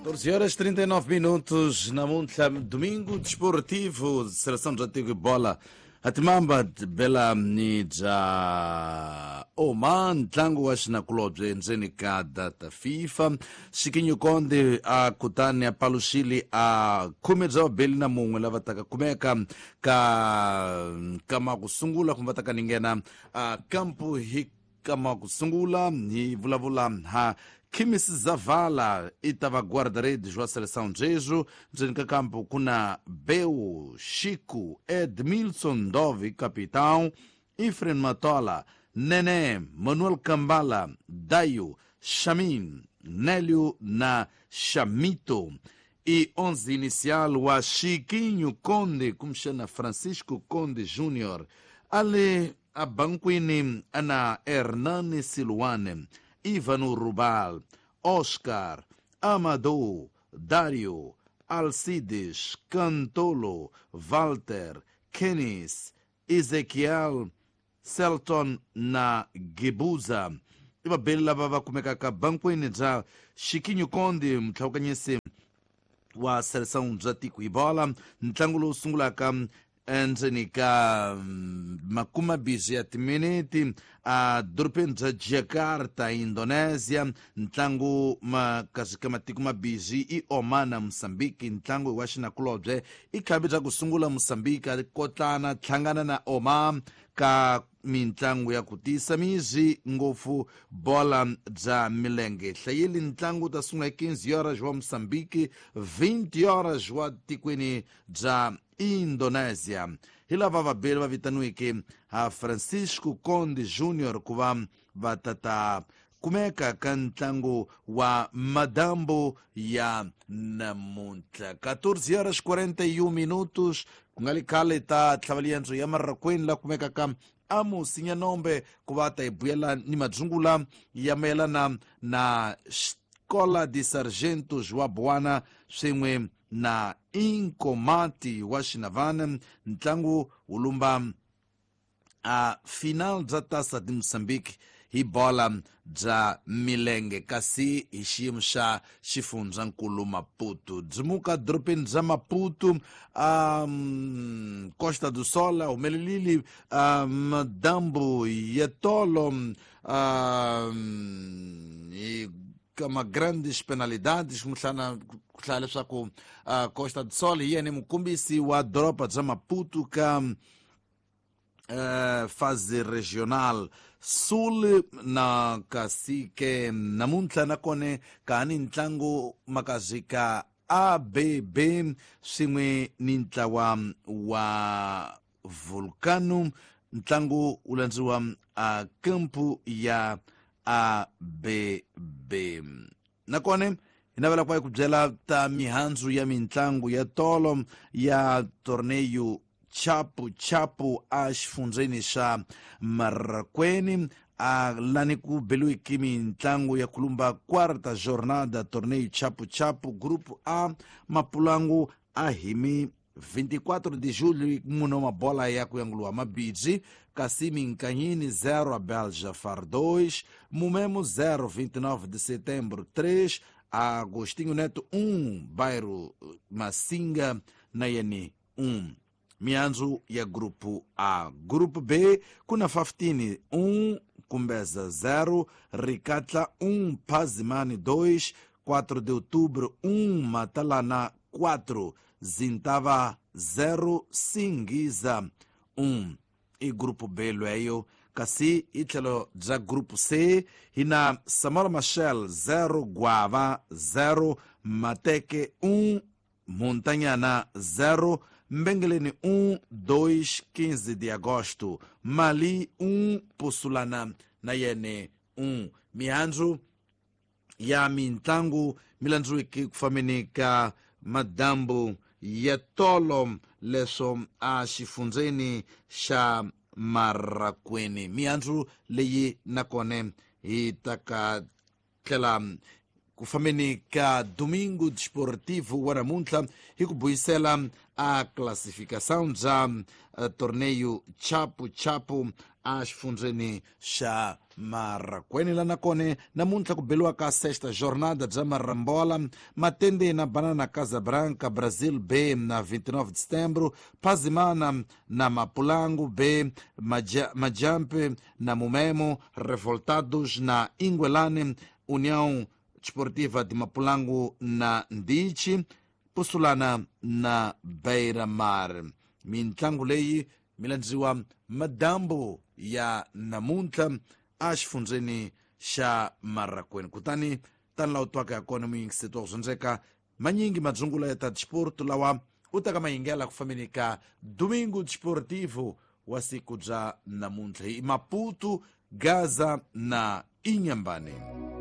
14 horas 39 minutos namuntlha domingo desportivo seleção bya tiko bola atimamba bela ni bya Oman ntlangu wa xinakulobye endzeni ka data FIFA Xikinyu Konde a kutani a paluxile a khume bya vabeli na mun'we lava taka kumeka ka kama ku sungula kumbe va taka ni nghena a kampu hi kama ku sungula hi vulavula ha Khimis Zavala i ta va guarda-redes wa seleção Jesu ndzeni ka kampu ku na Beu Chico Edmilson Dove capitão Efraim Matola Nene Manuel Kambala Dayo Shamin Nélio na Chamito e 11 inicial wa Chiquinho Conde kumxana Francisco Conde Júnior ale abankwini ana Hernani Siluane Ivano Rubal Oscar Amadou Dario Alcides Cantolo Walter Kenis Ezequiel Selton na Gebuza i vabeli lava va kumekaka bankwini bya Xikinyu Konde mutlhawukanyisi wa seleção bya tiko hi bola ntlangu lowu sungulaka endzeni ka makumabisi ya timiniti a dorobeni bya Jakarta Indonesia ntlangu makasi ka matiko mabisi i Oman na Mozambique ntlangu wa xinakulobye i khavi bya ku sungula Mozambique a kotlana hlangana na Oman ka mintlangu ya ku tiyisa mizi ngopfu bola bya milenge hlayeli ntlangu ta sungula hi 15 horas wa Mozambique 20 horas wa tikweni bya Indonesia hi lava vabeli va vitaniweke ha Francisco Conde Junior ku va va tata kumeka ka ntlangu wa madambu ya namuntlha 14 horas 41 minutos ku nga li khale ta tlhavaliendzo ya Marrakweni la kumekaka Amos Nyanombe ku va ta hi buyela ni madzungula ya mayelana na Escola de Sargentos wa Buana swin'we na Inkomati wa Xinavana ntlangu wu lumba a final bya tasa de Mozambique hi bola bya milenge kasi hi xiyimo xa xifundzankulu Maputo byimuka dorobeni bya Maputo Costa do Sol humelelile madambu ya tolo hi kama grandes penalidades muhlana ku hlaya leswaku Costa do Sol hi yena mukombisi wa doroba bya Maputo ka fase regional sul na kasi ke namuntlha nakone ka ni ntlangu makazi ka ABB swin'we ni ntlawa wa Vulcano ntlangu wu landziwa a kampu ya ABB nakone hi navela ku va hi ku byela ta mihandzu ya mintlangu ya tolo ya torneio Chapu Chapu a xifundzeni xa Marrakweni a lani ku beliwiki mintlangu ya kulumba quarta jornada torneio Chapu Chapu grupo A Mapulangu a himi 24 de julho munhu wa mabola ya ku yanguliwa mabidzi kasi Minkanyini 0 a Belja Far 2 Mumemo 0 29 de setembro 3 Agostinho Neto 1 Bairro Massinga na yene 1 mihandzu ya grupo A grupo B kuna 15 1 Kumbeza 0 Ricatla 1 Pazimani 2 4 de outubro 1 Matalana 4 Zintava 0 Singiza 1 i grupo B lweyo kasi hi tlhelo bya grupo C hi na Samora Machel 0 Guava 0 Mateke 1 Montanyana 0 Mbengeleni 1 2 15 de agosto Mali 1 Pussulana na yene 1 mihandzu ya mintlangu mi landziweke ku fambeni ka madambu ya tolo leswo a xifundzeni xa Marrakweni mihandzu leyi nakone hi ta ka tlhela Ku fambeni ka Domingo Desportivo wa namuntlha hi ku buyisela a classificação bya torneio Chapu Chapu a xifundzeni xa Marracuene. La nakone namuntlha ku beliwa ka sexta jornada bya Marambola, Matende na Banana Casabranca, Brazil B na 29 de setembro, Pazimana na Mapulango B, Majampe na Mumemo, Revoltados na Inguelane, União Desportiva de Mapulango na Ndichi, Pusulana na Beira Mar. Mintlangu leyi mi landziwa madambu ya namuntlha a xifundzeni xa Marracuene. Kutani tani laha u twaka ya kona muyingiseti wa ku dyondzeka manyingi madzungula ya ta disporto lawa u taka mayingela ku fambeni ka Domingo Desportivo wa siku bya namuntlha hi Maputo, Gaza na Inhambane.